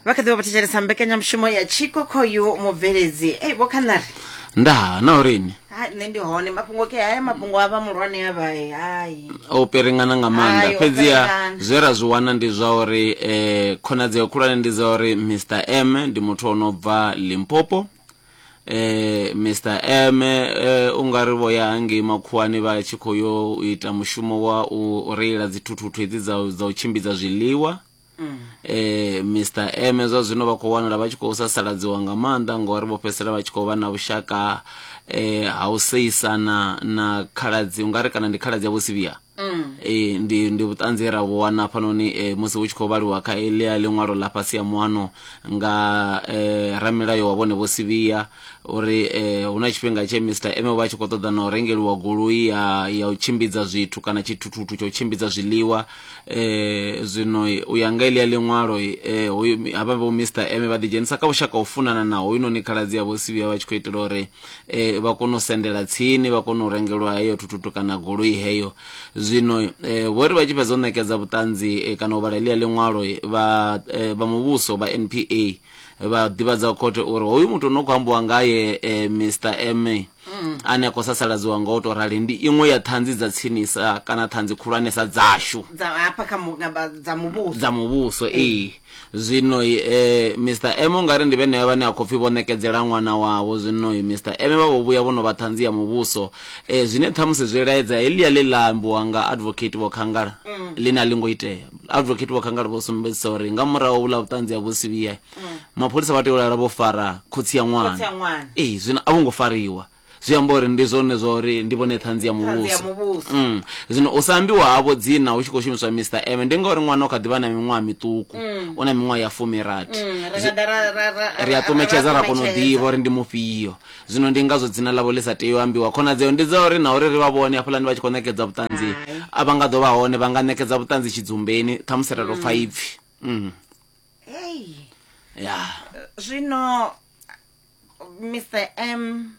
Vha kha ḓi vha vho thetshelesa mbekanyamushumo ya Tshiko khoyu mubveledzi. Ei vho Khanari. Ndaa, na uri ni? Ha nṋe ndi hone mafhungo ke haya mafhungo a vha muhulwane a vha hai. O piringana nga maanḓa. Hai, o Fhedziha piringana. zwe ra zwi wana ndi zwa uri eh, khonadzeo khulwane ndi dza uri Mr M ndi muthu o no bva Limpopo. Eh, Mr M eh, u nga ri vho ya hangei makhuwani vha tshi khou yo u ita mushumo wa u reila dzithuthuthu hedzi dza, dza u tshimbidza zwiḽiwa. Eh, Mr M zwa zwino vha khou wanala vha tshi khou sasaladziwa nga maanḓa ngori vho fhedzisela vha tshi khou vha na vhushaka eh, ha u seisana na khaladzi ungari kana ndi khaladzi ya Vho Sivhiya. Eh, ndi ndi vhuṱanzi he ra vhu wana hafhanoni eh, musi hu tshi khou vhaliwa kha eḽia ḽiṅwalo ḽa fhasi ya muano nga eh, ramilayo wa vhone Vho Sivhiya uri eh, hu na tshifhinga tshe Mr M vha tshi khou ṱoḓa na u rengeliwa goloi ya ya u tshimbidza zwithu kana tshithuthuthu tsha u tshimbidza zwiḽiwa. Eh, zwino u ya nga eḽia ḽiṅwalo eh, hoyu havha vho Mr M vha ḓidzhenisa kha vhushaka u funana na hoyunoni khaladzi ya Vho Sivhiya vha tshi khou itela uri eh, vha kone u sendela tsini vha kone u rengelwa heyo thuthutu kana goloi heyo. Zwino eh, vho ri vha tshi fhedza u ṋekedza vhuṱanzi eh, kana u vhala eḽia ḽiṅwalo vha eh, vha muvhuso vha NPA vha ḓivhadza khothe uri hoyu muthu no khou ambiwa ngaye eh, Mr M ane a khou sasaladziwa nga u tou rali ndi iṅwe ya ṱhanzi dza tsinisa kana ṱhanzi khulwanesa dzashu dza hafha kha mu- nga vha- dza muvhuso dza muvhuso ee zwino eh, Mr M ungari ndi vhenevha vhane a khou pfi vho ṋekedzela ṅwana wavho zwino Mr M vha vho vhuya vho no vha ṱhanzi ya muvhuso eh, zwine ṱhamusi zwi laedza heḽia ḽe ḽa ambiwa nga advocate Vho Khangala ḽine a ḽi ngo itea. Advocate Vho Khangala vho sumbedzisa uri nga murahu vhuḽa vhuṱanzi ha Vho Sivhiya Mapholisa vha tea u lala vho fara khotsi ya ṅwana. Khotsi a ṅwana. Ee, zwino a vho ngo fariwa. Zwi amba uri ndi zwone zwa uri ndi vhone ṱhanzi ya Ṱhanzi ya muvhuso. muvhuso. Mm. Zwino u sa ambiwa havho dzina hu tshi khou shumiswa Mister M ndi ngauri ṅwana u kha ḓi vha na miṅwaha miṱuku. U na miṅwaha ya fumirathi. Ri nga ḓa ra ra ra Ri a ra ṱumetshedza ra kona u ṱumetshedza. ḓivha uri ndi mufhio. Zwino ndi ngazwo dzina ḽavho ḽi sa tei u ambiwa. Khonadzeo ndi dza uri na uri ri vha vhone hafhaḽani vha tshi khou ṋekedza vhuṱanzi Hai. a vha nga ḓo vha hone, vha nga ṋekedza vhuṱanzi tshidzumbeni ṱhamusi ra tou pfa ipfi. Mm. Hey. Ya. Zwino Mr M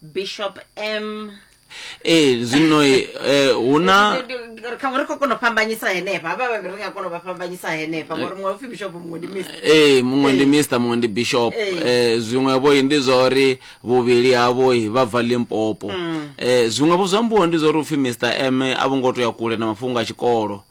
Bishop M Ee, zwino eh, hu na kha ri khou kona u fhambanyisa henefha havha vhavhili ri nga kona u vha fhambanyisa henefha ngori muṅwe upfi bishop muṅwe ndi Mr. ee muṅwe ndi Mr muṅwe ndi Bishop. Ee. Eh, zwiṅwe vho ndi zwa uri vhuvhili havho vha bva Limpopo. Eh, zwiṅwe vho zwa ambiwa ndi zwa uri upfi Mr M a vho ngo to ya kule na mafhungo a tshikolo.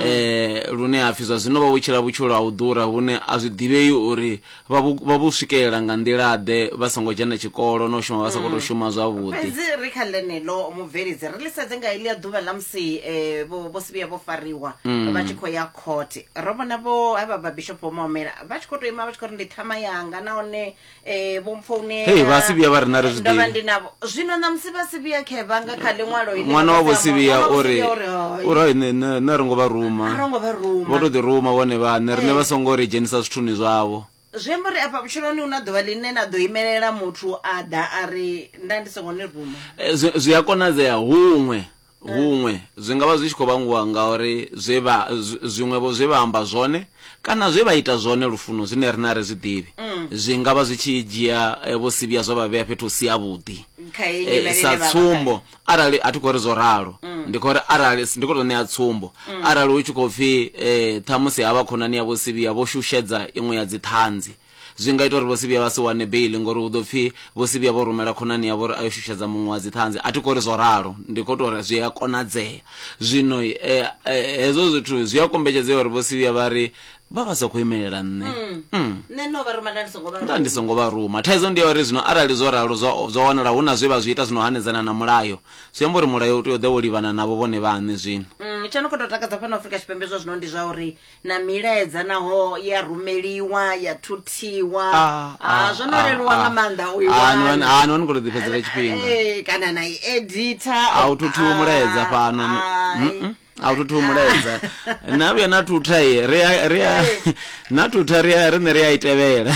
Eh, lune ha pfi zwa zwino vha vho tshila vhutshilo ha u ḓura hune a zwi ḓivhei uri vha vhu, vha vhu swikelela nga nḓila-ḓe vha songo dzhena tshikolo na u shuma vha sa khou tou shuma zwavhuḓi. Fhedzi ri kha ḽeneḽo mubveledzi ri ḽi sedze nga heḽia ḓuvha ḽa musi eh, vho vho Sibiya vho fariwa vha tshi khou ya khothe ro vhona vho havha vha Bishop Vho Maumela vha tshi khou tou ima vha tshi khou ri ndi ṱhama yanga nahone eh, vho mpfounela Hei, vha Sibiya vha ri na ri zwi ndo vha ḓivhi. ndi navho zwino ṋamusi vha Sibiya khevha nga kha ḽiṅwalo iḽi Ṅwana vha wa Vho khou amba- Sibiya ṅwana wa Vho uri Sibiya uri hai uri hai, nṋe nṋe nṋe a ro ngo vha ruma a ro ngo vha ruma vho tou ḓi ruma vhone vhaṋe riṋe Eh. vha songo ri dzhenisa zwithuni zwavho. Zwi amba uri afha vhutshiloni hu na ḓuvha ḽine na ḓo imelela muthu a ḓa a ri nda ndi songo ni ruma. Eh, Zwi zwi a konadzea huṅwe huṅwe zwi nga vha zwi tshi khou vhangiwa ngauri zwe vha zwiṅwe-vho zwe vha amba zwone kana zwe vha ita zwone lufuno zwine riṋe a ri zwi ḓivhi zwi nga vha zwi tshi dzhia vho Sivhiya zwa vha vhea fhethu hu si havhuḓi. Kha heyi nyimele ine Sa vha vha khayo. tsumbo, arali a thi khou ri zwo ralo, ndi khou ri arali ndi khou tou ṋea tsumbo, arali hu tshi khou pfhi ṱhamusi havha khonani ya Vho Sivhiya vho shushedza iṅwe ya dziṱhanzi, Zwi nga ita uri Vho Sibiya vha si wane beiḽi ngori hu ḓo pfi Vho Sibiya vho rumela khonani yavho uri a yo shushedza muṅwe wa Dziṱhanzi. A thi khou ri zwo ralo, ndi khou tou ri zwi a konadzea. Zwino hezwo zwithu zwi a kombetshedzea uri Vho Sibiya vha ri vha vha sa khou imelela nṋe. Nṋe no vha ruma nda ndi songo vha Nda ndi ruma. songo vha ruma. Thaidzo ndi ya uri zwino arali zwo ralo zwa zwa wanala hu na zwe vha zwi ita zwi no hanedzana na mulayo, zwi amba uri mulayo u tea u ḓa wo livhana navho vhone vhaṋe zwino. Tsho no khou tou takadza fhano Afrika Tshipembe zwa zwino ndi zwa uri na milaedza naho ya rumeliwa ya thuthiwa Ah, ah, ah, zwo no ah, leluwa nga ah. maanḓa u i Ah, ni wana. wane- ah, ni wane khou tou ḓifhedzela tshifhinga Eh, kana na i editha a u thuthiwi mulaedza fhano Mm-mm. a u thuthiwi mulaedza na vhuya na thutha ye ri a ri a na thutha ri a riṋe ri a i tevhela.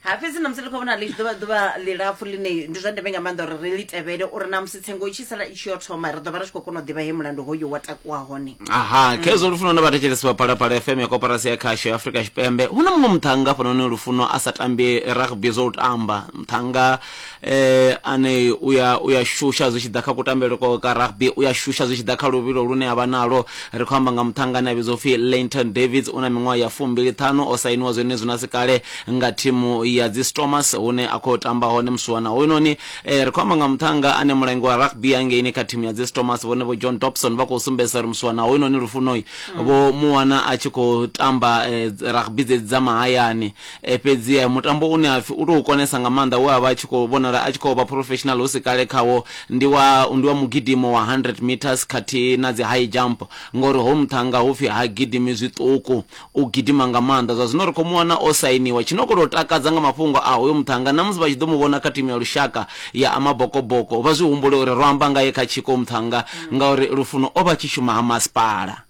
Ha fhedzi na musi ri khou vhona ḽi tshi ḓovha ḓuvha ḽilapfu ḽine ndi zwa ndeme nga maanḓa uri ri ḽi tevhele uri na musi tsengo i tshi sala i tshi yo thoma ri ḓo vha ri tshi khou kona u ḓivha he mulandu hoyu wa takuwa hone. Aha, khezwo Lufuno na vhathetshelesi vha Phalaphala FM ya Koporasi ya Khasho ya Afrika Tshipembe. Hu na muṅwe muṱhannga hafhanoni Lufuno a sa tambi rugby zwo u tamba. Muṱhannga eh, ane u ya u ya shusha zwi tshi ḓa kha kutambele kwawe ka rugby, u ya shusha zwi tshi ḓa kha luvhilo lune a vha nalwo. Ri khou amba nga muṱhannga ane a vhidzwa upfi Lainton Davids, u na miṅwaha ya fumbili ṱhanu, o sainiwa zwenezwino a si kale nga thimu ya dzi Stormers hune a khou tamba hone musiwana hoyunoni. Ri khou amba nga muṱhannga ane mulangi wa rugby hangeini kha thimu ya dzi Stormers vhone Vho John Dobson vha khou sumbedzisa uri musiwana hoyunoni Lufunoi vho mu wana a tshi khou tamba rugby dzedzi dza mahayani. Fhedzi mutambo une ha pfi u tou konesa nga maanḓa we a vha a tshi khou vhonala a tshi khou vha professional hu si kale khawo ndi wa ndi wa mugidimo wa 100 meters khathihi na dzi high jump ngori hoyu muṱhannga hu pfi ha gidimi zwiṱuku u gidima nga maanḓa. Zwa zwino ri khou mu wana o sainiwa. Tshi no khou tou takadza nga mafhungo a hoyu muṱhannga na musi vha tshi ḓo mu vhona kha thimu ya lushaka ya Amabokoboko vha zwi humbule uri ro amba ngae kha tshiko muṱhannga ngauri Lufuno o vha a tshi shuma ha masipala.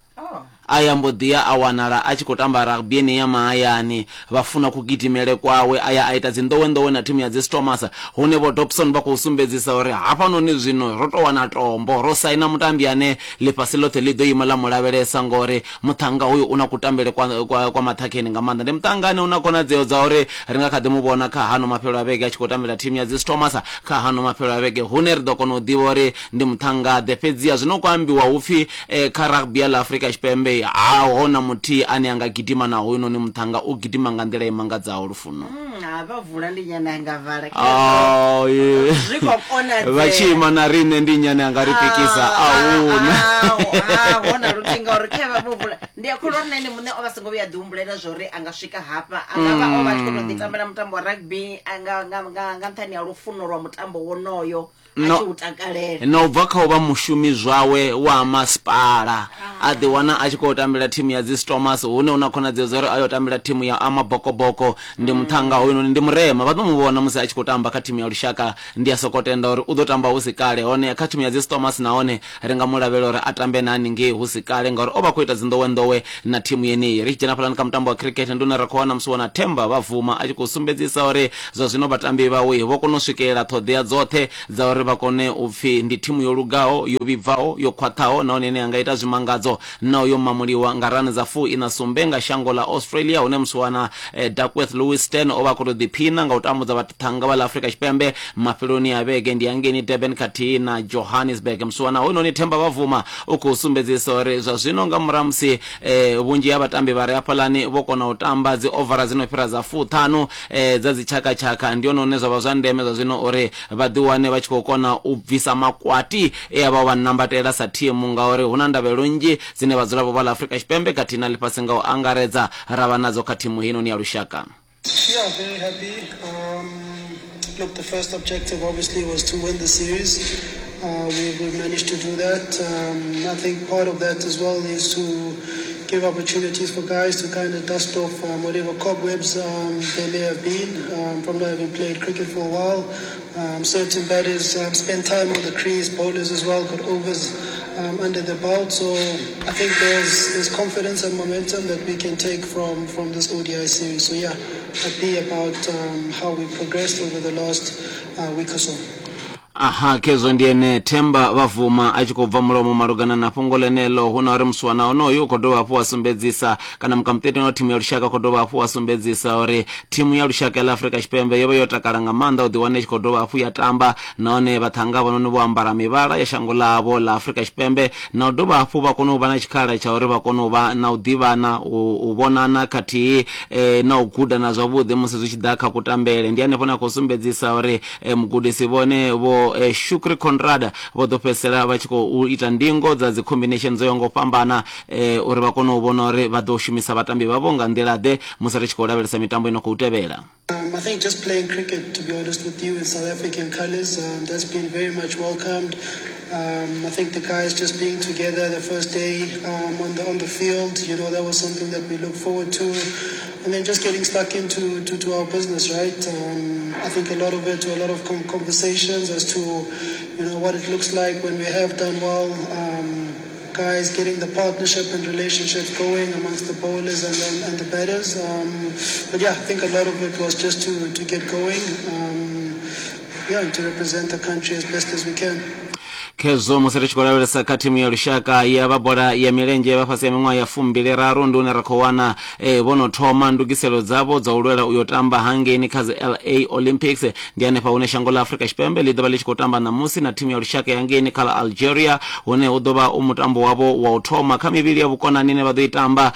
A ya mbo ḓi ya a wanala a tshi khou tamba rugby yenei ya mahayani. Vha funa kugidimele kwawe, a ya a ita dzinḓowenḓowe na thimu ya dzi Stormers, hune Vho Dobson vha khou sumbedzisa uri hafhanoni zwino ro tou wana tombo, ro saina mutambi ane ḽifhasi ḽoṱhe ḽi ḓo ima ḽa mu lavhelesa ngori muṱhannga hoyu u na kutambele kwa, kwa, kwa maṱhakheni nga maanḓa. Ndi muṱhannga ane u na khonadzeo dza uri ri nga kha ḓi mu vhona kha hano mafhelo a vhege a tshi khou tambela thimu ya dzi Stormers kha hano mafhelo a vhege, hune ri ḓo kona u ḓivha uri ndi muṱhannga-ḓe. Fhedziha zwino khou ambiwa hu pfi Kha rugby ya ḽa Afrika Tshipembe haho na muthihi ane a nga gidima na hoyunoni muṱhannga, u gidima nga nḓila i mangadzaho Lufuno. Ha vha vula ndi nnyi ane a nga vala? Oh, yeah. Zwi khou konadzea. Vha tshi ima na riṋe ndi nnyi ane a nga ri pikisa? A huna. Haho na luthihi ngauri khe vha vho vula ndi a kholwa uri na ene muṋe o vha songo vhuya a ḓihumbulela zwa uri a nga swika hafha, a nga vha o vha a tshi khou tou ḓitambela mutambo wa rugby nga nga nga nga nṱhani ha lufuno lwa mutambo wonoyo. a No, tshi u takalela. na u bva kha u vha mushumi zwawe wa masipala a ḓiwana a tshi khou tambela thimu ya dzi Stormers hune hu na khonadzeo dza uri a yo tambela thimu ya Amabokoboko. Ndi muṱhannga hoyunoni, ndi murema, vha ḓo mu vhona musi a tshi khou tamba kha thimu ya lushaka. Ndi a soko tenda uri u ḓo tamba hu si kale, hone kha thimu ya dzi Stormers nahone ri nga mu lavhelela uri a tambe na haningei hu si kale ngauri o vha a khou ita dzinḓowenḓowe na thimu yeneyi. Ri tshi dzhena hafhaḽani kha mutambo wa cricket ndi hune ra khou wana musiwana Themba Bavuma a tshi khou sumbedzisa uri Zwa zwino vhatambi vhawe vho kona u swikelela ṱhoḓea dzoṱhe dza uri vha kone u pfi ndi thimu yo lugaho, yo vhibvaho, yo khwaṱhaho nahone ine ya nga ita zwimangadzo naho yo mamuliwa nga rani dza fuiṋa sumbe nga shango ḽa Australia hune musiwana Duckworth Lewis Stern o vha a khou tou ḓiphina nga u tambudza vhaṱhannga vha ḽa Afrika Tshipembe mafheloni a vhege ndi hangeini Durban khathihi na Johannesburg. Musiwana hoyunoni Themba Bavuma u khou sumbedzisa uri zwa zwino nga murahu ha musi vhunzhi ha vhatambi vha re hafhaḽani vho kona u tamba dzi ovara dzi no fhira dza fuṱhanu dza dzitshakatshaka, ndi hone hune zwa vha zwa ndeme zwa zwino uri vha ḓiwane vha tshi khou kona u bvisa makwati e a vha o vha nambatela sa thimu ngauri hu na ndavhelelo nnzhi dzine vhadzulapo vha ḽa Afrika Tshipembe khathihi na ḽifhasi nga u angaredza ra vha nadzo kha thimu heinoni ya lushaka. Yeah, very happy. Look, the first objective obviously was to win the series. We've managed to do that. I think part of that as well is to give opportunities for guys to kind of dust off whatever cobwebs they may have been from not having played cricket for a while. Certain batters spend time on the crease, bowlers as well got overs under the belt. So I think there's confidence and momentum that we can take from this ODI series. So yeah, happy about how we progressed over the last week or so. Aha, khezwo ndi ene Themba Bavuma a tshi khou bva mulomo malugana na fhungo ḽeneḽo. Hu na uri musiwana onoyu u khou dovha hafhu wa sumbedzisa kana mukamuṱeteni wa thimu ya lushaka u khou dovha hafhu wa sumbedzisa uri thimu ya lushaka ya ḽa Afrika Tshipembe yo vha yo takala nga maanḓa u ḓiwana i tshi khou dovha hafhu ya tamba nahone vhaṱhannga havhanoni vho ambara mivhala ya shango ḽavho ḽa Afrika Tshipembe na u dovha hafhu vha kone u vha na tshikhala tsha uri vha kone u vha na u ḓivhana, u vhonana khathihi na u gudana zwavhuḓi musi zwi tshi ḓa kha kutambele. Ndi hanefho hune a khou sumbedzisa uri Mugudisi vhone Vho Shukri Conrad vho ḓo fhedzisela vha tshi khou ita ndingo dza dzi combination dzo yaho nga u fhambana uri vha kone u vhona uri vha ḓo shumisa vhatambi vhavho nga nḓila ḓe musi ri tshi khou lavhelesa mitambo ino khou tevhela. I think just playing cricket, to be honest with you, in South African colours, that's been very much welcomed. I think the guys just being together the first day on the field, you know, that was something that we look forward to. And then just getting stuck into to our business, right? I think a lot of it, a lot of conversations as to, you know, what it looks like when we have done well. guys getting the partnership and relationships going amongst the bowlers and the batters. But yeah, I think a lot of it was just to get going, and to represent the country as best as we can. Khezwo musi ri tshi khou lavhelesa kha thimu ya lushaka ya vha bola ya milenzhe vha fhasi ya miṅwaha ya fumbili raru, ndi hune ra khou wana vho no thoma ndugiselo dzavho dza u lwela u yo tamba hangeini kha dzi LA Olympics. Ndi hanefha hune shango ḽa Afrika Tshipembe ḽi ḓo vha ḽi tshi khou tamba ṋamusi na thimu ya lushaka ya hangeini kha ḽa Algeria, hune hu ḓo vha u mutambo wavho wa u thoma kha mivhili ya vhukonani ine vha ḓo i tamba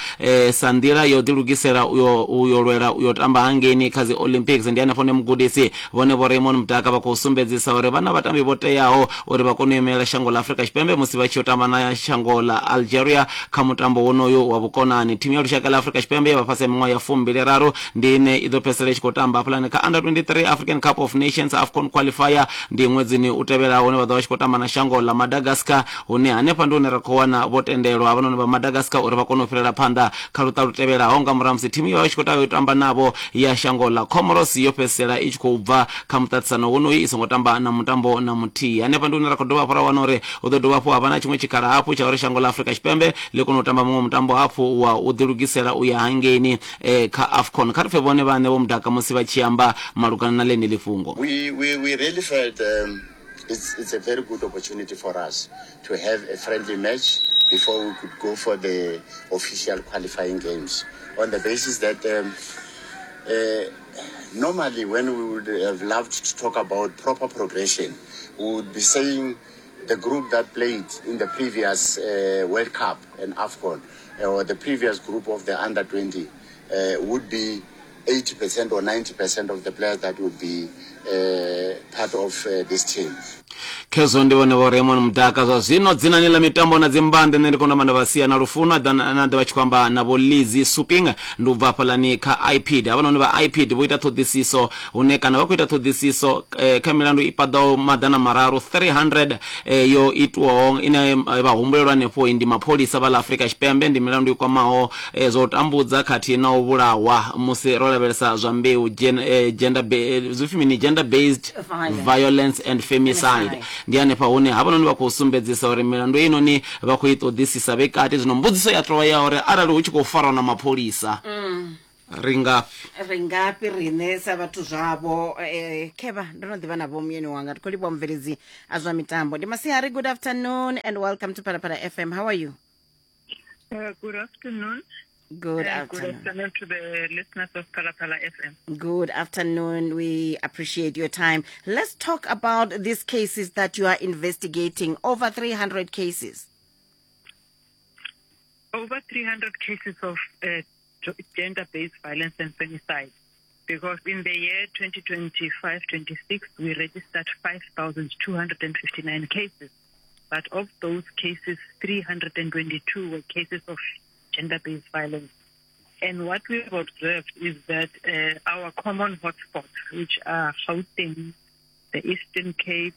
sa nḓila ya u ḓilugisela u yo lwela u yo tamba hangeini kha dzi Olympics. Ndi hanefho hune mugudisi vhone Vho Raymond Mdaka vha khou sumbedzisa uri vha na vhatambi vho teaho uri vha kone u imelela shango ḽa Afrika Tshipembe musi vha tshi yo tamba na shango ḽa Algeria kha mutambo wonoyu wa vhukonani. Thimu ya lushaka ḽa Afrika Tshipembe ya vha fhasi ha miṅwaha ya fumbili raru ndi ine i ḓo fhedzisela i tshi khou tamba hafhaḽani kha Under 23 African Cup of Nations AFCON qualifier ndi ṅwedzini u tevhelaho, hune vha ḓo vha tshi khou tamba na shango ḽa Madagascar, hune hanefha ndi hune ra khou wana vho tendelwa havhanoni vha Madagascar uri vha kone u fhirela phanḓa kha luṱa lu tevhelaho nga murahu ha musi thimu yo vha i tshi khou tea u tamba navho ya shango ḽa Comoros yo fhedzisela i tshi khou bva kha muṱaṱisano wonoyu i songo tamba na mutambo na muthihi. Hanefha ndi hune ra khou dovha hafhu ra wana uri hu ḓo dovha hafhu ha vha na tshiṅwe tshikhala hafhu tsha uri shango ḽa Afrika Tshipembe ḽi kone u tamba muṅwe mutambo hafhu wa u ḓilugisela u ya hangeini kha AFCON. Kha ri pfe vhone vhaṋe Vho Mudaka musi vha tshi amba malugana na ḽeneḽi fhungo. We really felt it's a very good opportunity for us to have a friendly match before we could go for the official qualifying games, on the basis that normally when we would have loved to talk about proper progression, we would be saying the group that played in the previous World Cup and AFCON, or the previous group of the under 20, would be 80% or 90% of the players that would be part of this team. Khezwo ndi vhone Vho Raymond Mdaka. Zwa zwino dzinani ḽa mitambo na dzimbande, nṋe ndi khou namba nda vha sia na Lufuno a ḓa na ḓa vha tshi khou amba na Vho Lizzy Suping, ndi u bva hafhaḽani kha IPID. Havhanoni vha IPID vho ita ṱhoḓisiso hune kana vha khou ita ṱhoḓisiso kha milandu i paḓaho maḓana mararu 300 yo itwaho ine vha humbulelwa hanefho ndi mapholisa vha ḽa Afrika Tshipembe. Ndi milandu i kwamaho zwa u tambudza khathihi na u vhulahwa musi ro lavhelesa zwa mbeu, gender zwi pfi mini, gender based Violence. violence and femicide. Ndi hanefha hune havhanoni vha khou sumbedzisa uri milandu heinoni vha khou i ṱoḓisisa vhe kati. Zwino mbudziso ya tovha ya uri arali hu tshi khou farwa na mapholisa, ri ngafhi? Ri ngafhi riṋe sa vhathu zwavho? Khevha ndo no ḓivha na vho muyeni wanga, ndi khou livhuwa mubveledzi a zwa mitambo. Ndi masiari, good afternoon and welcome to Phalaphala FM. How are you? Good afternoon. Good Good afternoon. afternoon to the listeners of Phalaphala FM. Good afternoon. We appreciate your time. Let's talk about these cases that you are investigating, over 300 cases. Over 300 cases of gender-based violence and femicide. Because in the year 2025-26, we registered 5,259 cases. But of those cases, 322 were cases of gender-based violence. And what we've observed is that our common hotspots, which are Gauteng, the Eastern Cape,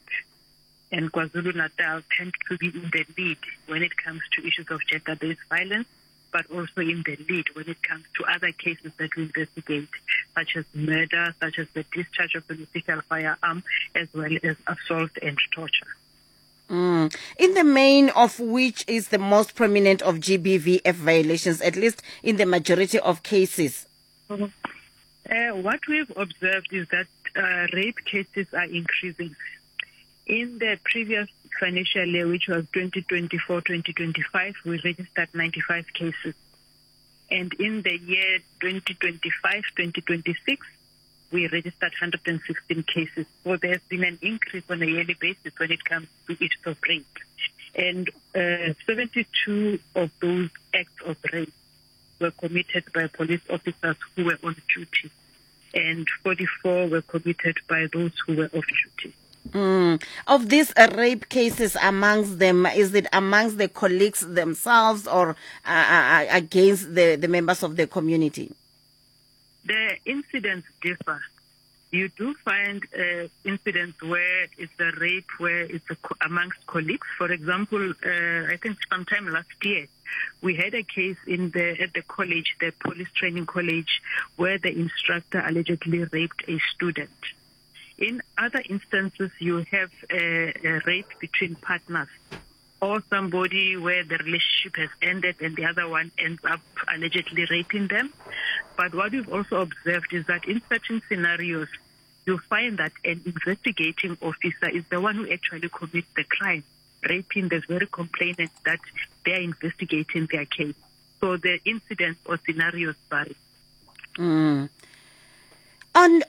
and KwaZulu-Natal, tend to be in the lead when it comes to issues of gender-based violence, but also in the lead when it comes to other cases that we investigate, such as murder, such as the discharge of an official firearm, as well as assault and torture. In the main, of which is the most prominent of GBVF violations, at least in the majority of cases? What we've observed is that rape cases are increasing. In the previous financial year, which was 2024-2025, we registered 95 cases. And in the year 2025-2026, we registered 116 cases. So there's been an increase on a yearly basis when it comes to issues of rape. And 72 of those acts of rape were committed by police officers who were on duty, and 44 were committed by those who were off duty. Of these rape cases, amongst them, is it amongst the colleagues themselves or against the members of the community? The incidents differ. You do find incidents where it's a rape, where it's amongst colleagues. For example, I think sometime last year, we had a case at the college, the police training college, where the instructor allegedly raped a student. In other instances, you have a rape between partners. Or somebody where the relationship has ended and the other one ends up allegedly raping them. But what we've also observed is that in certain scenarios, you find that an investigating officer is the one who actually commits the crime, raping the very complainant that they are investigating their case. So the incidents or scenarios vary. And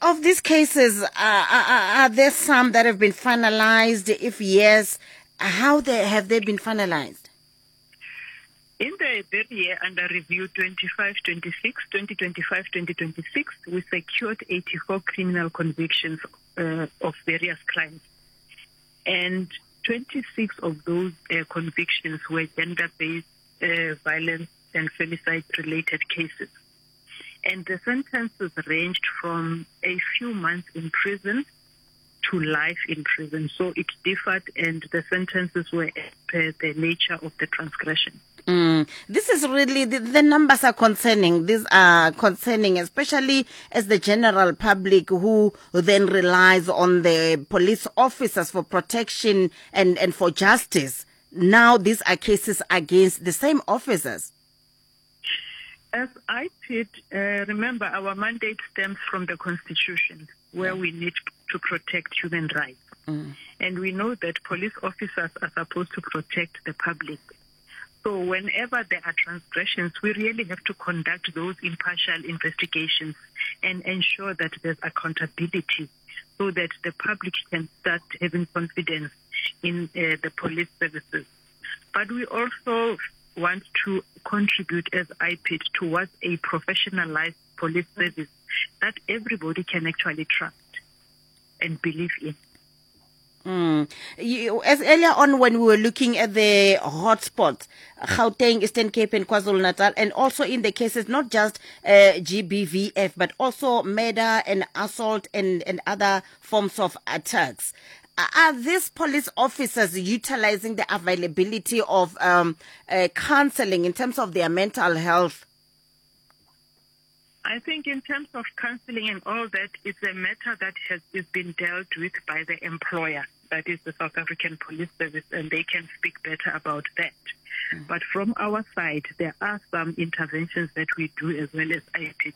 of these cases, are there some that have been finalized? If yes, how have they been finalized? In the very year under review, 25-26, 2025-2026, we secured 84 criminal convictions of various crimes. And 26 of those convictions were gender-based violence and femicide-related cases. And the sentences ranged from a few months in prison to life in prison. So it differed, and the sentences were as per the nature of the transgression. This is really, the numbers are concerning. These are concerning, especially as the general public who then relies on the police officers for protection and for justice. Now these are cases against the same officers. As IPID, remember our mandate stems from the Constitution, where we need to protect human rights. And we know that police officers are supposed to protect the public. So whenever there are transgressions, we really have to conduct those impartial investigations and ensure that there's accountability so that the public can start having confidence in the police services. But we also want to contribute as IPID towards a professionalized police service that everybody can actually trust and believe in. As earlier on when we were looking at the hotspots, Gauteng, Eastern Cape and KwaZulu-Natal, and also in the cases not just GBVF, but also murder and assault and other forms of attacks. Are these police officers utilizing the availability of counseling in terms of their mental health? I think in terms of counseling and all that, it's a matter that has is been dealt with by the employer, that is the South African Police Service, and they can speak better about that. But from our side, there are some interventions that we do as well as IPID,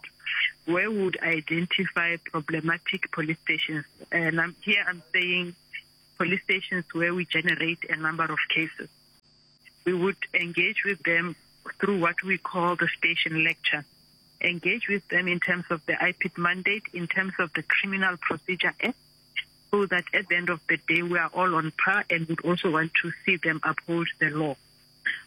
where we would identify problematic police stations. And here I'm saying police stations where we generate a number of cases. We would engage with them through what we call the station lecture. Engage with them in terms of the IPID mandate, in terms of the Criminal Procedure Act, so that at the end of the day we are all on par and would also want to see them uphold the law.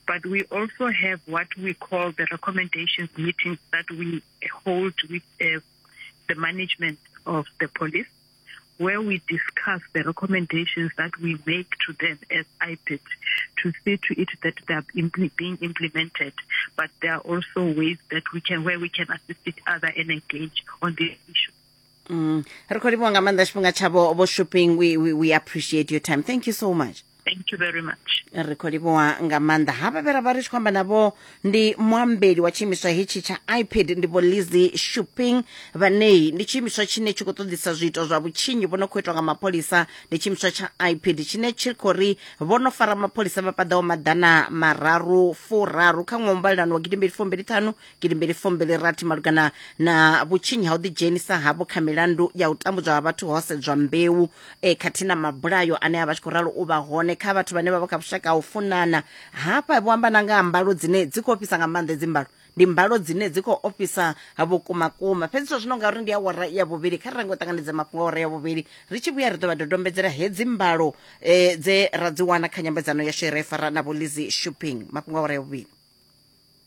But we also have what we call the recommendations meetings that we hold with the management of the police, where we discuss the recommendations that we make to them as IPID to see to it that they are being implemented. But there are also ways that we can, where we can assist each other and engage on this issue. Re khou livhuwa nga maanḓa tshifhinga tshavho vho Shopping. We appreciate your time. Thank you so much. Thank you very much. Ri khou livhuwa nga maanḓa. Havha vhe ra vha ri tshi khou amba navho ndi muambeli wa tshiimiswa hetshi tsha IPID, ndi vho Lizzy Shopping, vhanei ndi tshiimiswa tshine tshi khou ṱoḓisa zwiito zwa vhutshinyi vho no khou itwa nga mapholisa. Ndi tshiimiswa tsha IPID tshine tshi khou ri vho no fara mapholisa vha paḓaho 330 kha ṅwaha mbalelano wa 2025 2026 malugana na vhutshinyi ha u ḓidzhenisa havho kha milandu ya u tambudzwa ha vhathu ho sedzwa mbeu khathihi na mabulayo ane a vha tshi khou ralo u vha hone kha vhathu vhane vha vha kha vhushaka ha u funana. Hafha vho amba na nga ha mbalo dzine dzi khou ofhisa nga maanḓa. Hedzi mbalo ndi mbalo dzine dzi khou ofhisa vhukumakuma. Fhedzi zwa zwino ngauri ndi awara ya vhuvhili, kha ri range u ṱanganedza mafhungo a awara ya vhuvhili. Ri tshi vhuya ri ḓo vha dodombedzela hedzi mbalo dze ra dzi wana kha nyambedzano yashu ye ra i fara na Vho Lizzy Shopping. Mafhungo a awara ya vhuvhili.